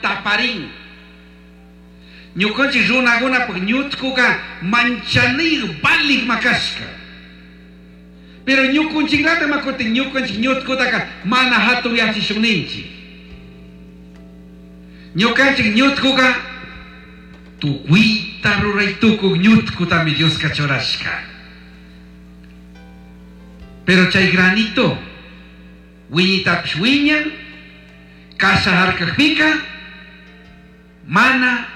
Taparin. Ñukanchik runakunapak ñutkuka manchanay valik makashka. Pero ñukunchiklata makutin ñukanchik ñutkutaka mana hatun yachishunninchik. Ñukanchik ñutkuka tukuyta ruray tukuy ñutkutami Dioska churashka. Pero chay granito wiñitapish wiñan, kasha harkakpika mana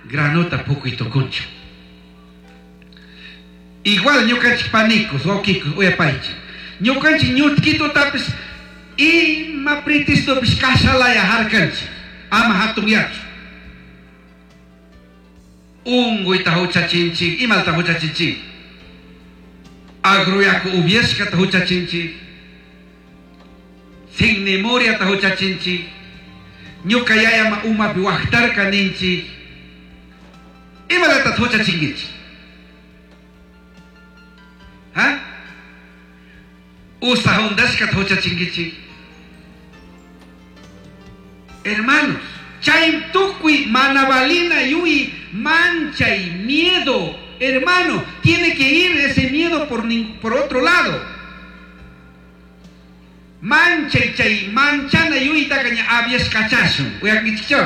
granota pukuy tukunchu. Igual ñukanchik panikus, wawkikus, uyapaychik. Ñukanchik ñutkitutapis ima pretextopish kashalaya harkanchik, ama hatunyachu. Unguyta huchachinchik, imalta huchachinchik. Agruyaku upyashkata huchachinchik. Signimuriata huchachinchik. Ñuka yayama umapi waqtarka ninchik. Imalata huchachinkichik? Ha? Usa hundashkata huchachinkichik. Hermanos, chay tukuy mana valina yuy manchay miedo, hermano, tiene que ir ese miedo por otro lado. Manchay chay manchana yuytaka ña aviashkachashun. Uyankichikchu?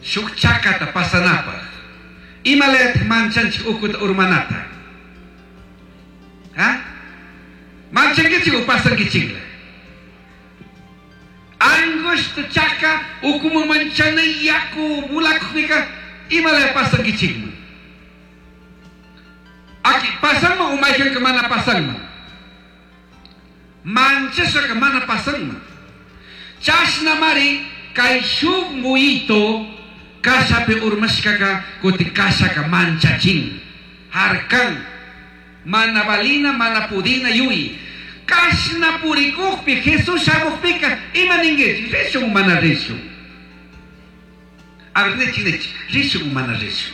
Shuk chakata pasanapaj. Imalayataq manchanchik ukuta urmanata? Ha? Manchankichik o pasankichikla? Angosto chaka ukuman manchana yaku bulakujpika imalaya pasankichikman? Aki pasanman o maykanka mana pasanman? Manchashaka mana pasanman. Chashnamari kay shuk muyito kashapi urmashkaka kutin kashaka manchachin. Harkan. Mana valina, mana pudina yuyi. Kashna purikukpi, Jesús shamukpika, ima ninkichik? Rishun mana rishun? A ver, nichik, nichik. Rishun mana rishun?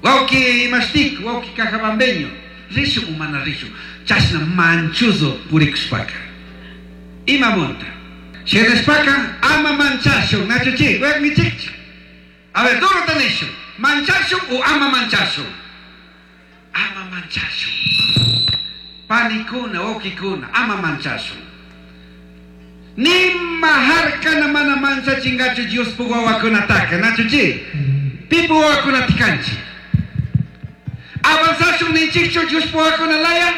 Wawki imashtik, wawki cajabambeño. Rishun mana rishun? Chashna manchuzo purikushpaka. Ima munta? Shinashpaka ama manchashun, nachuchik, uyankichikchu? A ver, duro nishun. Manchashun o ama manchashun? Ama manchashun. Panikuna, wawkikuna, ama manchashun. Nima harkana mana manchachingachu Diospuk wawakunataka, nachuchi? Pipu wawakunata kanchik. Avanzashun ninchikchu Diospuk wawakuna laya?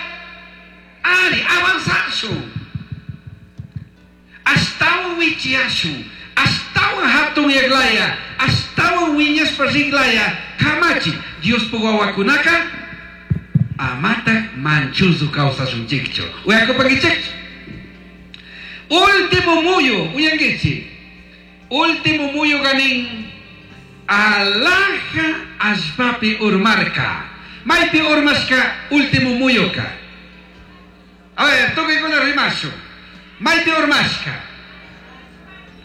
Ari, avanzashun. Ashtawan wichiyashun, ashtawan hatun yaglaya, ashtawan wiñashpa riglaya, kamachi Diospuk wawakunaka amata manchuzu kawsashunchikchu. Uyakupankichikchu? Último muyu, uyankichik. Último muyu ganin alaja allpapi urmarka. Maypi urmashka último muyuka. A ver, tukuykuna rimashun. Maypi urmashka.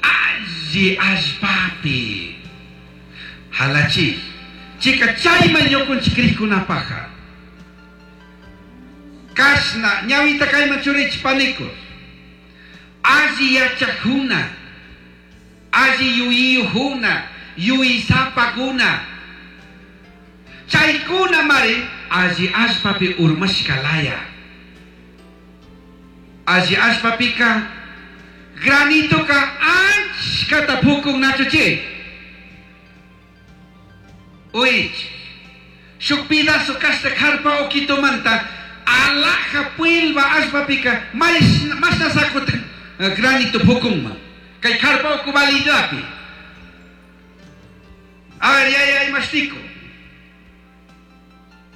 Alli allpapi. Halachi. Chika chayman ñukunchik krikkunapaja. Kashna ñawita kayman churichik panikus. Alli yachakuna, alli yuyiyujuna, yuyisapakuna. Chaykuna mari alli allpapi urmashka laya. Alli allpapika granitoka achkata pukun nachuchi. Uich. Shuk pedazo kashta karpa okitomanta alaja puilba allpapika mashna sakut granito pukunman. Kay karpa uku validapi. A ver, ya, ya, imashtico.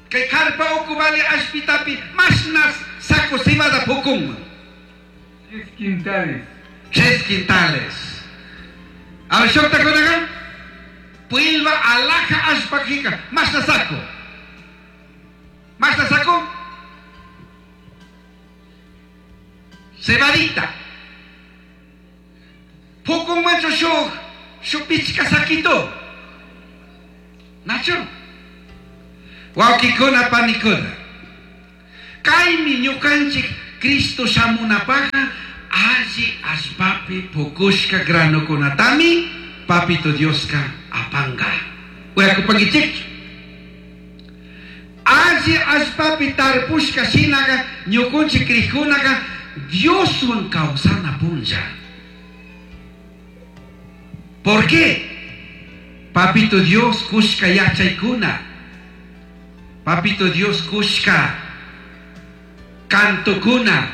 Kay karpa uku vali allpitapi mashna saco cebada pukunman. 3 quintales. 3 quintales. A ver, shukta kunaqa? Puilba alaja allpakika mashna saco. Mashna saco? Cebadita. Pukunmanchu shuk, shuk pichka saquito. Nacho. Wawkikuna panikuna. Kaymi ñukanchik Cristo shamunapajka alli allpapi pukushka granokunatami Papito Dioska apanga. Uyakupankichikchu? Alli allpapi tarpushka shinaga ñukunchik crijkunaga Dioswan kawsana punlla. ¿Por qué? Papito Dios kushka yachaykuna. Papito Dios kushka cantokuna.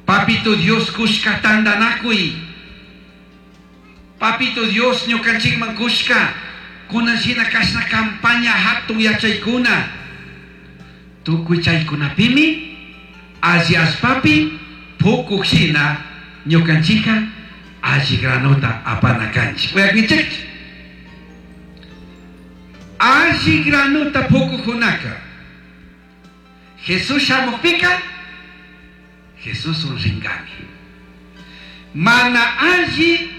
Papito Dios kushka tandanakuy. Papito Dios ñukanchikman kushka kunan shina kashna campaña hatun yachaykuna. Tukuy chaykunapimi alli allpapi pukuk shina ñukanchikka alli granota apana kanchik. Uyakunchikchu? Alli granota pukukkunaka Jesús shamukpika Jesuswan ringami. Mana alli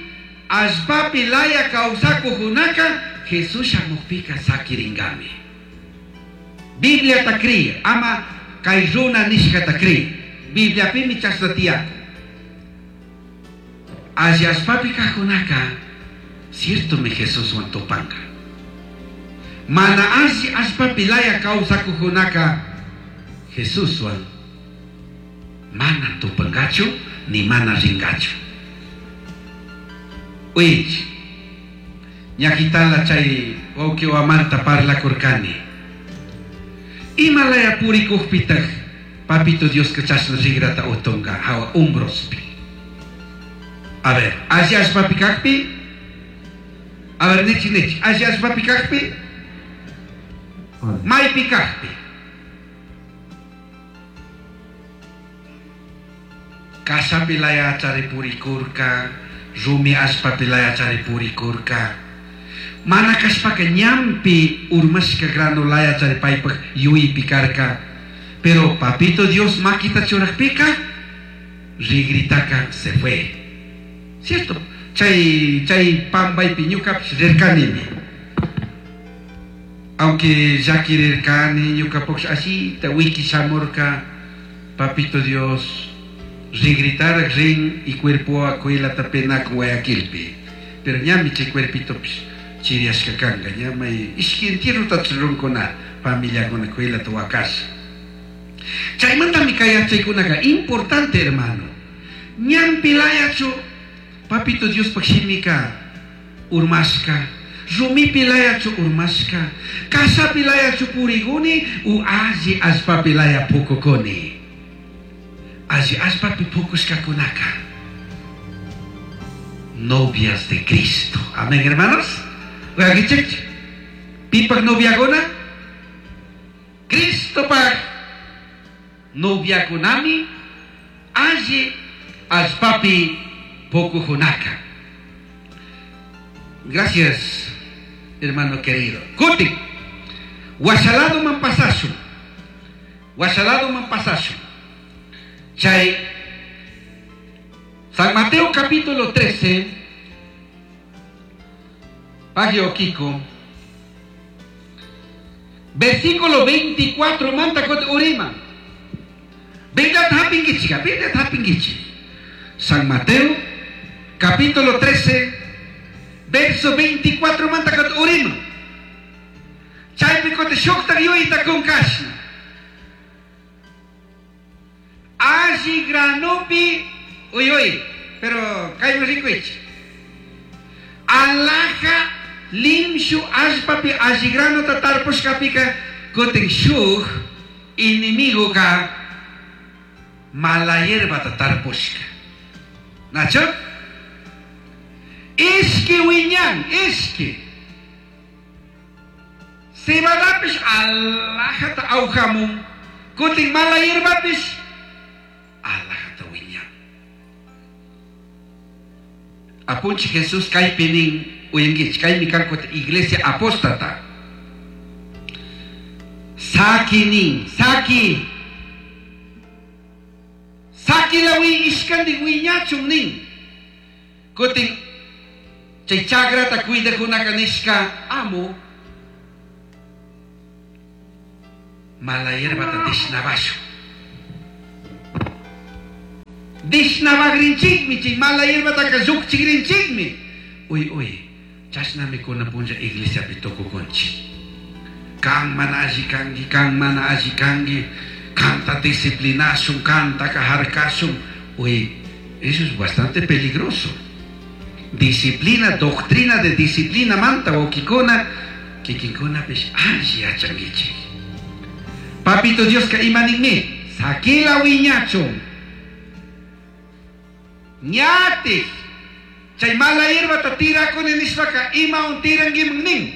allpapi laya kawsakukunaka Jesús shamukpika sakiringami. Bibliata cri, ama kay runa nishkata cri. Bibliapimi chashna tiyakun. Alli allpapi kajkunaka ciertomi Jesuswan tupanka. Mana alli allpapi laya kawsakukunaka Jesuswan mana tupankachu ni mana rinkachu. Uyich, ñakitala chay wawkiwamanta parlakurkani. Ima laya purikukpitaj Papito Dioska chashna rigrata utunka hawa hombrospi. A ver, alli allpapi kakpi? A ver, nichi nichi, alli allpapi kakpi? Maypi kakpi? Kashapi laya chari purikurka, rumi allpapi laya chari purikurka. Mana kashpaka ñampi urmashka grano laya chari paypak yuypi karka. Pero Papito Dios makita churakpika, rigritaka se fue. ¿Cierto? Chay, chay pambaypi ñukapish rirkanimi. Aunque llakirirkani ñukapush ashita wiki shamurka, Papito Dios rigritarak rin y cuerpo kuylata penakun Guayaquilpi. Pero ñami chay cuerpitopish chiriashka kanka, ñamay ishki entierrota runkuna familiakuna kuylata wakasha. Chaymantami kay yachaykunaka importante, hermano. Ñampi layachu Papito Diospaj shimika urmashka, rumipi layachu urmashka, kashapi layachu puriguni u alli allpapi laya pukukuni. Alli allpapi pukushkakunaka novias de Cristo. Amén, hermanos. Uyakichikchu? Pipak noviakuna? Cristopaj noviakunami alli allpapi pukujunaka. Gracias, hermano querido. Kutin, washalado man pasashun. Washalado man pasashun. Chay San Mateo capítulo 13, Pagio Kiko, versículo 24, manta kot urima. Biblia hapingichi, Biblia hapingichi. San Mateo capítulo 13, verso 24, manta kot urima. Chaypi kote shuktak yuyta kunkashna. Alli granopi, uy uy, pero kayman rikuichi. Alhaja limshu allpapi alli granota tarpushkapika kutin shuk enemigo ka mala hierbata tarpushka. Nacho? Ishki wiñan, ishki. Cebadapish alhajata awjamun, kutin mala hierbapish alhajata wiñan. Apunchi Jesús kaypi nin uyankichik, kaymi kan iglesia apóstata. Saki nin, saki. Saki lawi ishkandik wiñachun nin. Kutin chay chakrata cuidakunaka nishka amo mala hierbata tishnabashun. Dishnabagrinchikmi, chay mala hierbataka llukchigrinchikmi. Uy, uy, chashnami kunan punlla iglesiapi tukukunchik. Kan mana alli kanki, kan mana alli kanki, kanta disciplinashun, kantaka harkashun. Uy, eso es bastante peligroso. Disciplina, doctrina de disciplina manta wawkikuna, kikinkunapish alli yachankichik. Papito Dioska ima ninmi, sakila wiñachun. Ñatik, chay mala hierbata tirakuni nishpaka imawan tirankiman nin.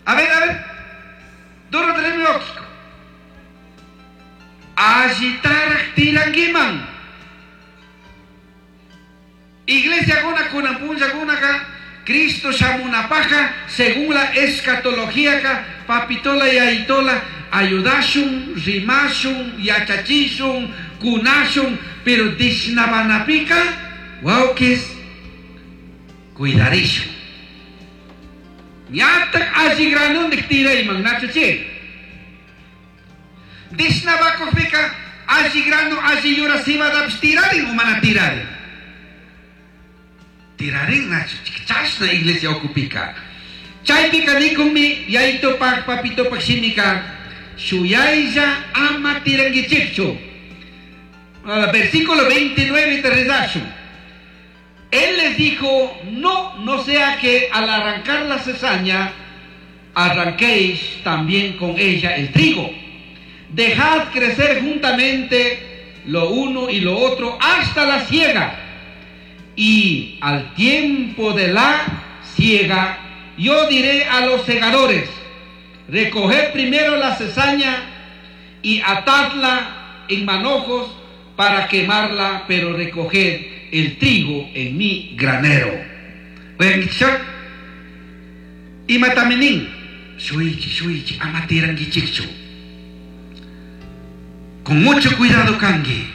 A ver, a ver, duro wawkiko. Allitarak tirankiman. Iglesia kunan punllakunaka Cristo shamunapajka según la escatología ka papitola y ayitola ayudashun, rimashun, yachachishun, kunashun, pero dishnabanapika wawkis cuidarishun. Ñatak alli granundik tirayman nachuchi. Dishnabakujpika alli grano alli yura cebadapish tirarin o mana tirarin. Tirarin nachu, chashna iglesia ukupika. Chaypika nikunmi yayitopak papitopak shimika shuyaylla ama tiranguichikchu. Versículo 29 te rezashun. Él les dijo, no, no sea que al arrancar la cizaña, arranquéis también con ella el trigo. Dejad crecer juntamente lo uno y lo otro hasta la siega. Y al tiempo de la siega, yo diré a los segadores, recoged primero la cizaña y atadla en manojos para quemarla, pero recoged el trigo en mi granero. Imataminin, shuichi, shuichi, amatiranguichikchu. Con mucho cuidado, kangi.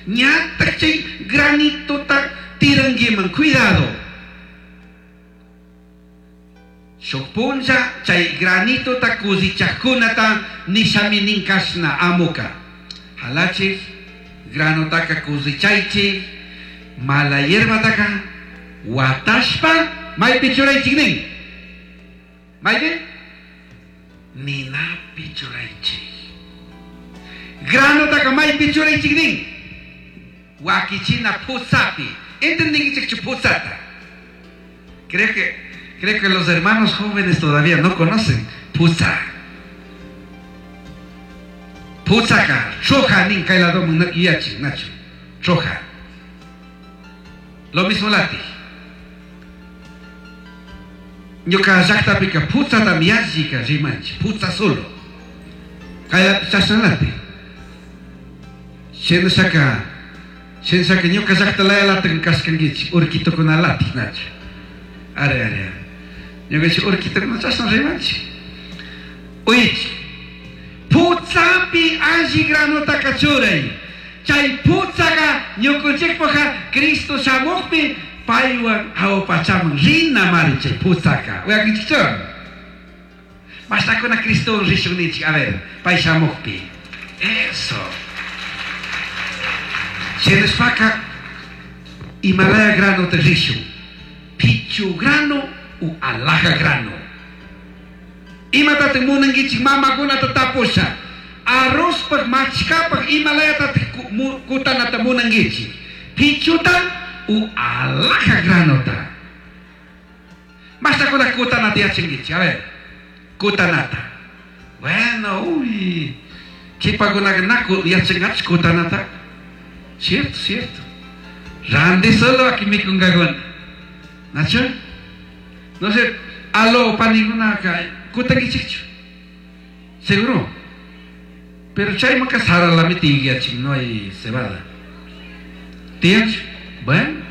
Ñatak chay granito ta tiranguiman, cuidado. Shukpunlla chay granito ta kusichajkunata nishaminin kashna amuka. Halachik, grano taka kusichaychik, mala hierba taka watashpa maypi churaychik nin. Maypi? Ninapi churaychik. Grano taka maypi churaychik nin. Wakichina pusapi. ¿Entendinkichikchu pusata? Creo que los hermanos jóvenes todavía no conocen pusa. Pusaka, choja nin kay lado yachi, nacho. Choja. Lo mismo lati. Ñuka llaqtapika putsata yallika rimanchik, putsa solo. Kay chashna lati. Shinashaka, shinashaka ñuka llaqta laya latin kashkankichik, urkitukuna lati, nacho. Are, are, are. Ñukanchik urkitukuna chashna rimanchik. Uyichik. Putsapi alli granotaka churay. Chay putsaka ñukunchikpaqa Cristo shamuqpi paywan awpachaman rina mari chay putsaka. Uyakinchikchu? Mastakuna Cristo rishun ninchik, a ver, pay shamuqpi. Eso. Shinashpaka Himalaya grano te rishun. Pichu grano u alhaja grano. Imatataq munankichik mamakunata tapusha. Arrozpaq machkapaq Himalayata kutanata munankichik. Pichuta u alhaja granota. Mastakuna kutanata yachankichik, a ver. Kutanata. Bueno, uy. Kipakunaqa naku yachanqachik kutanata. Cierto, cierto. Randi solo aquí mikunkakuna. Nacho? No sé, alo panikunaka kutankichikchu. Seguro. Pero chaymanqa saralami tiyachik, no hay cebada. Tiyanchu? Bueno,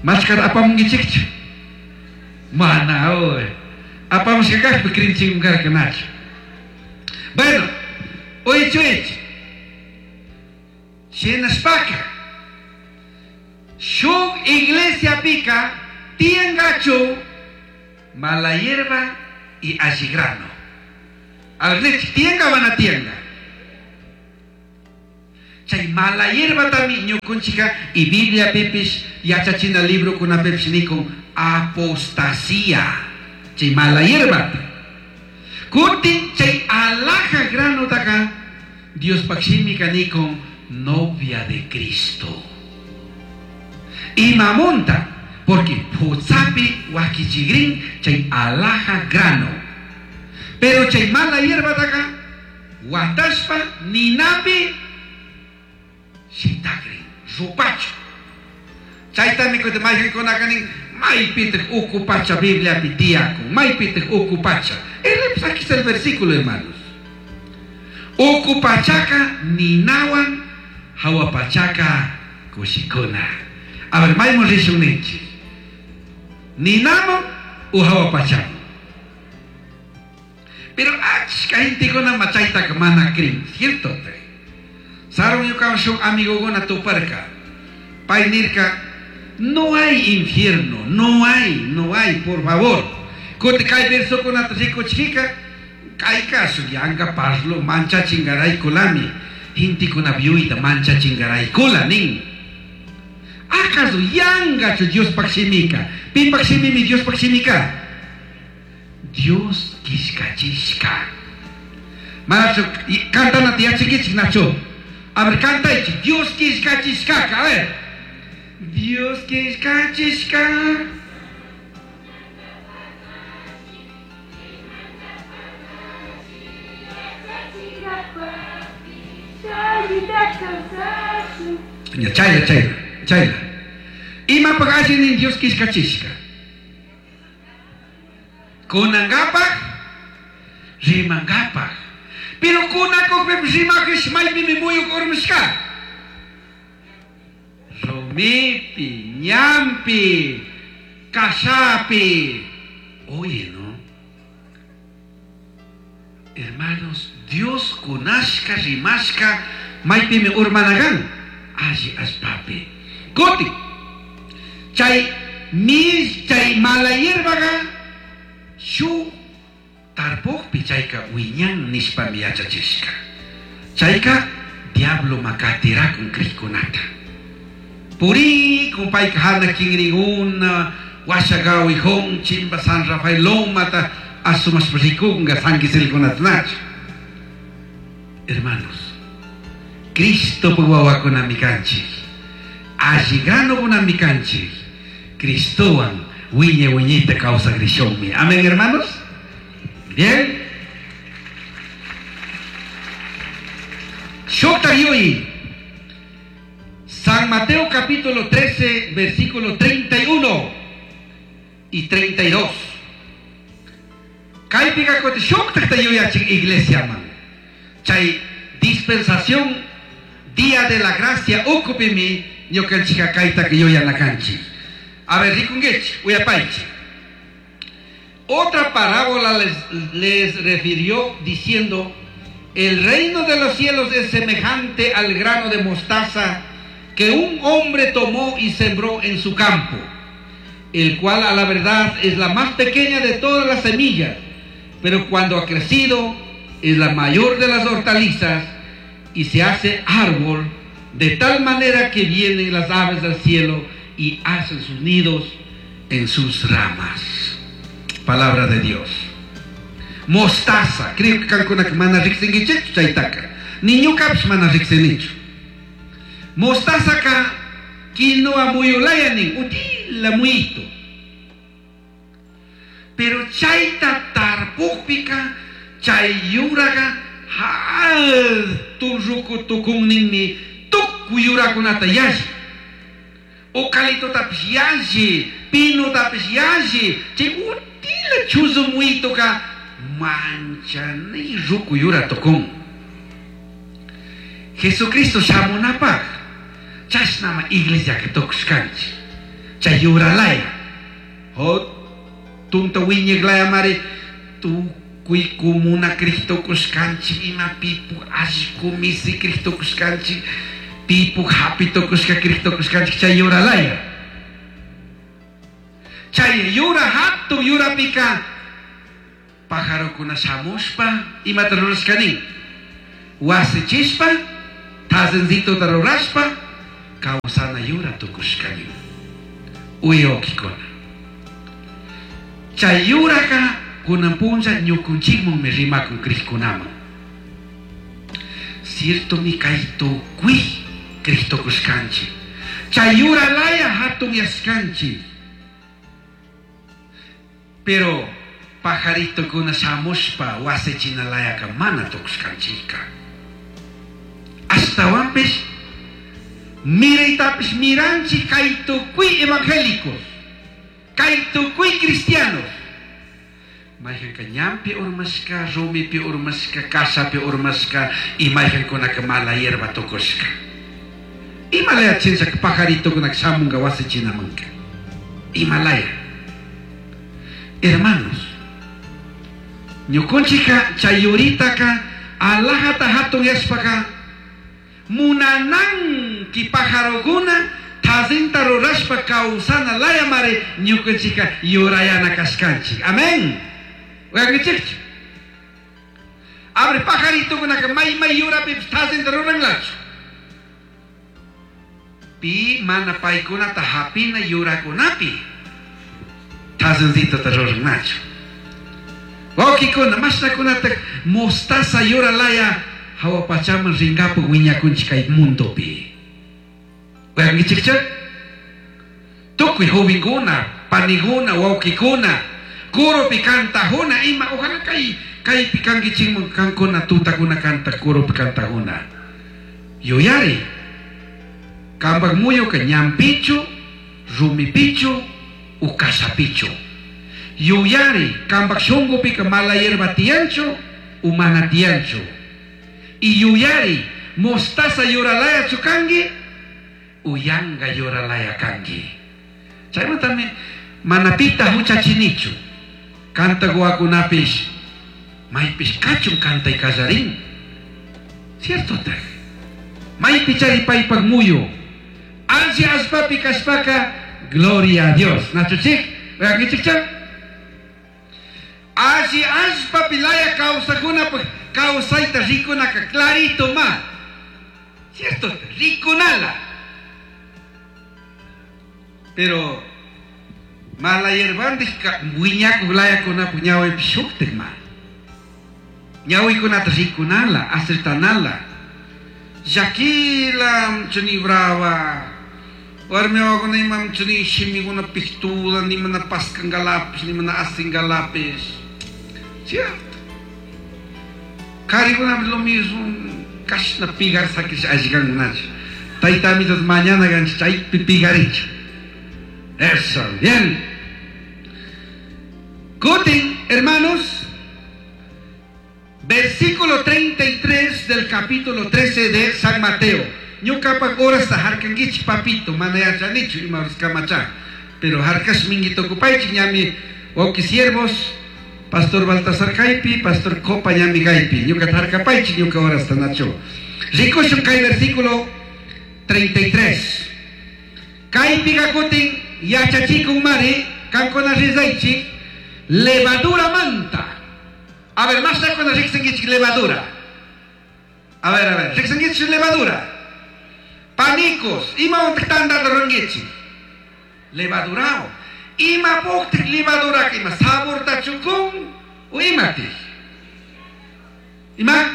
machkata apamunkichikchu. Mana, uy. Apamushka kaqpi krinchikmi karka, Nacho. Bueno, uyichu. Shinashpaka shuk iglesia pika tiyangachu mala hierba y alli grano. A ver, tianga mana tianga. Chay mala hierbatami ñukunchika y Biblia pipish yachachina librokunapipish nikun apostasía. Chay mala hierbata. Kutin chay alhaja granotaka Diospaj shimika nikun novia de Cristo. Imamunta, porque putzapi wakichigrin chay alhaja grano. Pero chay mala hierbataka watashpa ninapi shitakrin, rupachu. Chaytami kutin mayqinkunaka nin, maypitaq uku pacha Bibliapi tiyakun, maypitaq uku pacha. Aquí está el versículo, hermanos. Uku pachaka ninawan, hawa pachaka kushikuna. A ver, maymun rishun ninchik. Ninaman u hawa pachaman. Pero achka gentekuna chaytaka mana crin, cierto? Sarun ñukawan shuk amigokuna tuparka. Pay nirka, no hay infierno, no hay, no hay, por favor. Kuti kay versokunata rikuchikika, kay caso yanka parlo manchachingaraykulami, gentekuna yuyta manchachingaraykula nin. ¿Acaso yangachu Diospaj shimika? Pipaj shimimi Diospaj shimika? Dios killkachishka. Manachu cantanata yachankichik nachu. A ver, cantaychik. Dios killkachishkaka. A ver. Dios killkachishka. Ya, chayla, chayla, chayla. Imapaj allinin Dios killkachishka. Kunangapaj, rimangapaj. Pero kunakukpipish rimakish maypimi muyuk urmashka. Rumipi, ñampi, kashapi. Oye, ¿no? Hermanos, Dios kunashka, rimashka, maypimi urmanagan. Alli allpapi. Kuti. Chay mis, chay mala hierbaga, shu tarpukpi chayka wiñan nishpami yachachishka. Chayka diablo makatirakun kriykunata. Puri payka hana kinriguna, Washagawi chimba San Rafael lomata, asumashpa rikunga San Quisilkunata nachu. Hermanos, Cristo wawakunami kanchik. Alli granokunami kanchik. Cristowan wiña wiñayta kawsakrishunmi. Amén, hermanos. Bien. Shukta yuyi. San Mateo capítulo 13, versículo 31 y 32. Kaypika kuti shuktakta yuyachin iglesia man. Chay dispensación día de la gracia ukupimi ñukanchika kaytaka yuyanakanchik. A ver, rikunguichik, uyapaychik. Otra parábola les refirió diciendo: el reino de los cielos es semejante al grano de mostaza que un hombre tomó y sembró en su campo, el cual a la verdad es la más pequeña de todas las semillas, pero cuando ha crecido es la mayor de las hortalizas y se hace árbol, de tal manera que vienen las aves del cielo y hacen sus nidos en sus ramas. Palabra de Dios. Mostaza, creo que kankuna mana riqsinkichikchu chaytaka. Ni ñukapish mana riqsinichu. Mostaza ka quinoa muyulaya nin, utila muyito. Pero chayta tarpukpika, chay yuraga hatun ruku tukunninmi tukuy yurakunata yalli. Eucaliptotapish yalli, pinotapish yalli, chay utila chuzu muyitoka manchanay ruku yura tukun. Jesucristo shamunapaj chashnama iglesiaka tukushkanchik. Chay yuralaya. Hatunta wiñaqlayamari tukuy comuna Cristo kushkanchik, ima pipu allku misi Cristo kushkanchik, pipu hapi tukushka Cristo kushkanchik, chay yuralaya. Chay yura hatun yurapika pajarokuna shamushpa imata rurashkanin wasichishpa Tazincitota rurashpa kawsana yura tukushkani. Uyawkikuna. Chay yuraka kunan punlla ñukunchikmanmi rimakun krikkunaman. Ciertomi kay tukuy kriktukushkanchik. Chay yura laya hatunyashkanchik. Pero pajaritokuna shamushpa wasichinalaya mana tukushkanchikka. Ashtawanpish miraytapish miranchik kay tukuy evangélicos, kay tukuy cristianos. Mayqanka ñanpi urmashka, rumipi urmashka, kashapi urmashka y mayqankunaka mala hierba tukushka. Imalaya chinchaka pajaritokunaka shamunka wasichinamanka. Imalaya. Hermanos, ñukunchika chay yuritaka alajata hatun yashpaka munananki pajarokuna tazinta rurashpa kawsana laya mari ñukunchika yurayana kashkanchik. Amén. Uyankichikchu? Abre pajaritokunaka may may yurapipish tazinta ruranlachu. Pi mana paykunata hapina yurakunapi tazincitota rurannachu. Wawkikuna, mashnakunata mostaza yura laya hawa pachaman rinkapu wiñakunchik kay mundopi. Uyankichikchu? Tukuy jovenkuna, paniguna, wawkikuna, kurupi kantajuna, ima, ojalá kay kaypi kankichikman kankuna tutakuna kanta kurupi kantajuna. Yuyari, kampak muyuka ñanpichu, rumipichu, u kashapichu. Yuyari, kampak shunqupika mala hierba tiyanchu, u mana tiyanchu. Y yuyari, mostaza yuralayachu kanki, u yanka yuralaya kanki. Chaymantami mana pita huchachinichu. Kanta wawakunapish maypish kachun kantay kallarin. Cierto tak. Maypi chari paypak muyu. Alli allpapi kashpaka, gloria a Dios. Nachuchik, uyankichikcha? Alli allpapi laya kawsakunapuk kawsayta rikunaka clarito ma. Cierto, rikunala. Pero mala hierbandik wiñakuk layakunapuk ñawipish shuktik ma. Ñawikunata rikunala, acertanala. Llakila chuni brava. Warmi wawakuna imam chuni shimikuna piktuda, ni mana paskangalapis, ni mana asingalapis. Cierto. Karikunapish lo mismo, kashna pigar sakish allikankunachu. Tayta amitas mañana ganchik chaypi pigarichu. Eso, bien. Kutin, hermanos, versículo 33 del capítulo 13 de San Mateo. Ñukapak horasta harkankichik papito, mana yachanichu ima horas kamacha. Pero harkash minguito okupaychik ñami wawki siervos, Pastor Baltasar kaypi, Pastor Copa ñami kaypi. Ñukata harkapaychik ñuka horasta nacho. Rikushun kay versículo 33. Kaypika kutin yachachikun mari, kankuna rizaychik, levadura manta. A ver, mashnakuna riksinkichik levadura. A ver, riksinkichik levadura. Panicos, imawantak tantata rurankichik? Levadurao. Ima puktik levaduraka, ima saborta chukun o imatik? Ima?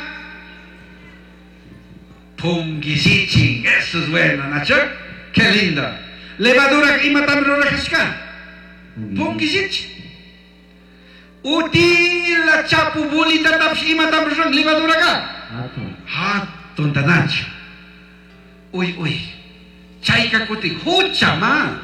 Punguillichin, eso es bueno, Nacho. Qué lindo. Levadura imatam rurajashka? Punguillichin. Utila chapu bolitatapish imatam ruran levaduraka? Hatun ta Nacho. Uy, uy. Chayka kutin hucha ma.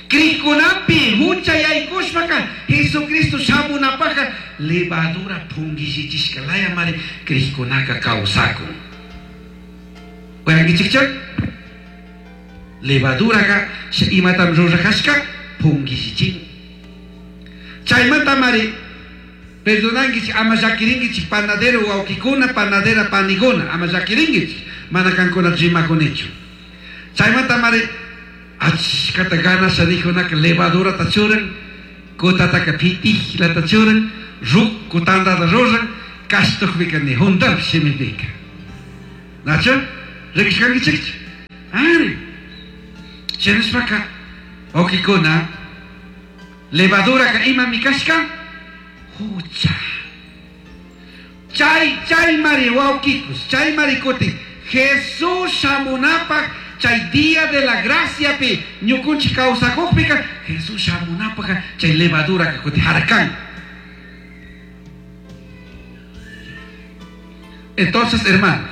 Krikunapi hucha yaykushpaka Jesucristo shamunapaka levadura punguillichishka laya mari krikunaka kawsakun. Uyankichikcha? Levaduraka imatam rurajashka punguillichin. Chaymanta mari perdonankichik ama llakirinkichik panadero wawkikuna panadera paniguna ama llakirinkichik mana kankuna rimakunichu. Chaymanta mari achkata ganasha nijunaka levadurata churan, kutataka pitiklata churan, rukku tantata ruran, kashtukpika ni juntapish shimipika. Nachu? Rikushkankichikchu? Ari. Shinashpaka wawkikuna levaduraka imami kashka? Hucha. Chay chaymari wawkikus, chaymari kutin Jesús shamunapaj chay día de la graciapi ñukunchik kawsakukpika Jesús shamunapajka chay levaduraka kutin harkan. Entonces, hermanos,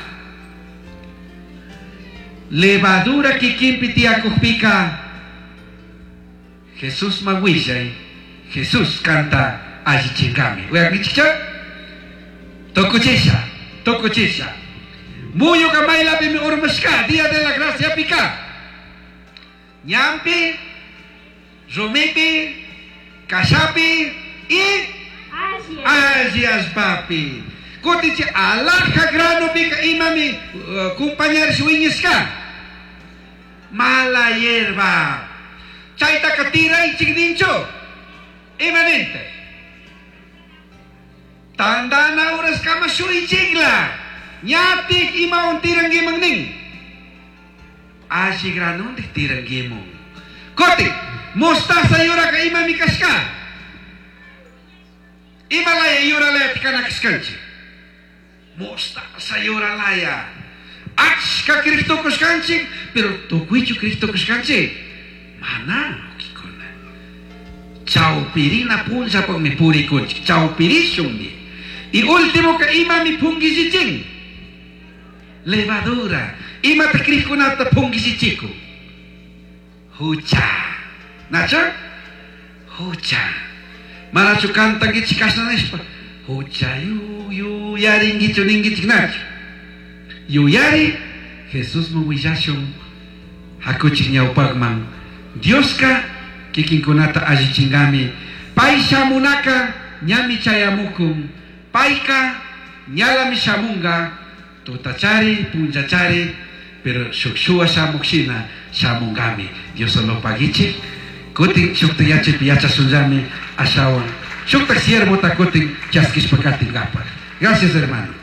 levadura kikinpi tiyakukpika Jesusman willay, Jesús kanta allichinkami. Uyankichikcha? Tukuchisha, tukuchisha. Muyuka maylapimi urmashka, día de la graciapika. Ñanpi, rumipi, kashapi y alli allpapi. Kutin chay alhaja granopika imami compañarish wiñashka. Mala hierba. Chaytaka tiraychik ninchu. Ima nintaj? Tandana uraskama shuychikla. Ñatik imawan tirankiman nin. Alli granontik tirankimun. Kutin, mostaza yuraka imami kashka. Ima laya yuralayata kana kashkanchik. Mostaza yuralaya. Achka crij tukushkanchik, pero tukuychu crij tukushkanchik? Mana, wawkikuna. Chawpirina punllapakmi purikunchik, chawpirishunmi. Y últimoka imami punkillichin? Levadura. Imata crijkunata punkillichikun? Hucha. Nachu? Hucha. Manachu cantankichik kashna nishpa? Hucha yuyarinkichu ninkichik nachu? Yuyari Jesusman willashun hakuchik ñawpakman. Dioska kikinkunata allichinkami. Pay shamunaka ñami chayamukun. Payka ñalami shamunga. Tutachari, punllachari, pero shuk shuwa shamuk shina shamungami. Dios lo paguichik. Kutin shukta yachapi yachashunllami ashawan. Shukta siervota kutin chaskishpa katinkapak. Gracias, hermanos.